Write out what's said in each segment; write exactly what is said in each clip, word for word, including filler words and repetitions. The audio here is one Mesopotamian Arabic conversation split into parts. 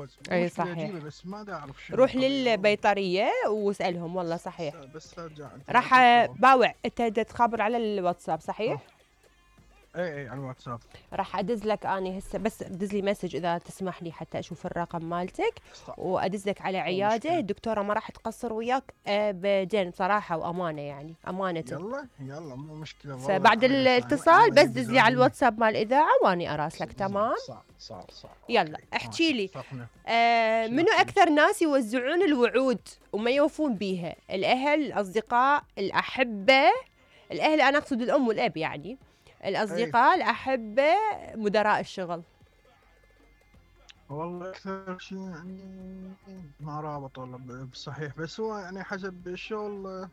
اي مشكلة صحيح. اجيبه بس ما دا اعرف شنو روح القضية والله. للبيطرية واسألهم والله بس صحيح. بس ارجع انت راح باوع انت دا تخابر على الواتساب صحيح؟ اي اي على الواتساب. راح ادز لك اني هسه بس ادز لي مسج اذا تسمح لي حتى اشوف الرقم مالتك صح. وادز لك على مو عياده مشكلة. الدكتوره ما راح تقصر وياك ابدا بصراحه وامانه يعني امانه. يلا يلا مو مشكلة والله. فبعد الحمد لله الاتصال الله بس دز لي على يجزاك. الواتساب مال الاذاعه واني اراسلك تمام. صح صح صح. يلا أوكي. احكي لي اتفقنا. آه شنو منو أحكي؟ اكثر ناس يوزعون الوعود وما يوفون بيها؟ الاهل، الاصدقاء، الاحبه؟ الاهل انا اقصد الام والاب يعني، الاصدقاء، الاحبه، مدراء الشغل. والله اكثر شيء يعني ما رابط والله ب- بصحيح بس هو يعني حسب الشغل. آه،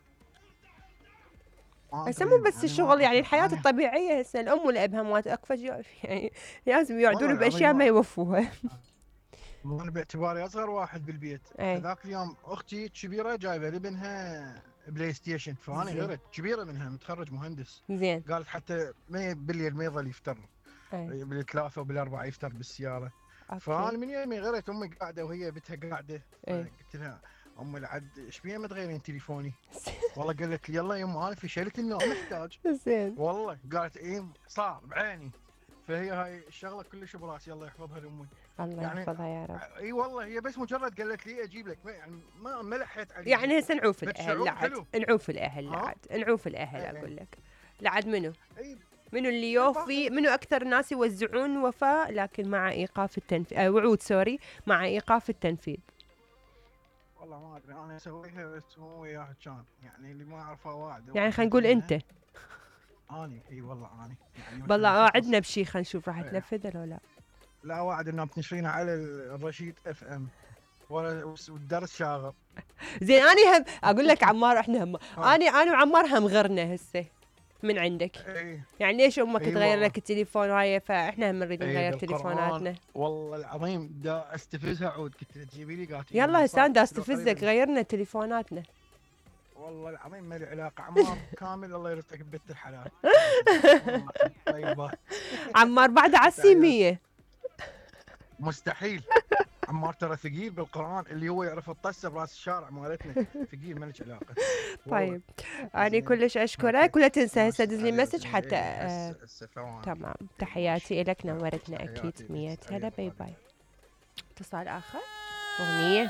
ما هسه ادري مو بس يعني الشغل يعني ما الحياة يعني الطبيعية هسه الأم والأب همات أكفى شيء يعني لازم يوعدون والله العظيم بأشياء ما ما يوفوها. انا باعتباري اصغر واحد بالبيت. اي فذاك اليوم اختي الكبيره جايبه لابنها بلاي ستيشن فانا زين غيرت كبيره منها متخرج مهندس. زين قالت حتى ما بالليل ما يظل يفتر اي بالثلاثه وبالاربعه يفتر بالسياره. فانا اوكي من يومي غيرت امي قاعده وهي بنتها قاعده. اي قلت لها امي العد ايش بيها ما تغيرين تليفوني؟ والله قالت لي يلا يما انا فشلت النوم محتاج. زين والله قالت ايه صار بعيني. فهي هاي الشغله كلش براسي الله يحفظها لامي. الله يعني يحفظها يا رب. اي والله هي بس مجرد قالت لي اجيب لك ما يعني ما ما لحيت عليها. يعني هسه نعوف بس الأهل شعور لعد حلو. نعوف الأهل ها؟ لعد نعوف الأهل اي اي أقول لك لعد منو اي منو اللي يوفي منو أكثر ناس يوزعون وفاء لكن مع إيقاف التنفيذ آه وعود سوري مع إيقاف التنفيذ. والله ما ادري انا اسويها بس هو وياها كان يعني اللي ما اعرفه واعد. يعني خلينا نقول أنت اني اي والله اني يعني بالله مثلاً شخص- وعدنا بشي خلينا نشوف راح إيه. تنفذ ولا لا. لا واعد انه بتنشرينه على الرشيد اف ام والدرس شاغر. زين اني هم اقول لك عمار احنا هم ها. اني انا وعمار هم غرنا هسه من عندك اي يعني ليش امك اي تغير والله. لك التليفون وهاي فاحنا هم نريد اي نغير بالقرآن تليفوناتنا. والله العظيم دا استفزها عود قلت لها تجيبي لي قالت لي يلا هسه صار. انا دا قلت له استفزك قريباً. غيرنا تليفوناتنا. والله العظيم ما لي علاقه عمار كامل الله يرزقك ببنت الحلال. والله طيبه. عمار بعد على السيمية. مستحيل. عمار ترى ثقيل بالقران اللي هو يعرف الطسه براس الشارع مالتنا ثقيل ما لك علاقه. والله. طيب اني زين. كلش اشكرك ولا تنسى هسه دز لي مسج حتى آه هسه هسه ثواني. تمام تحياتي لك آه، نورتنا تحياتي اكيد لك. مية أي هلا باي والله. باي. اتصال اخر اغنية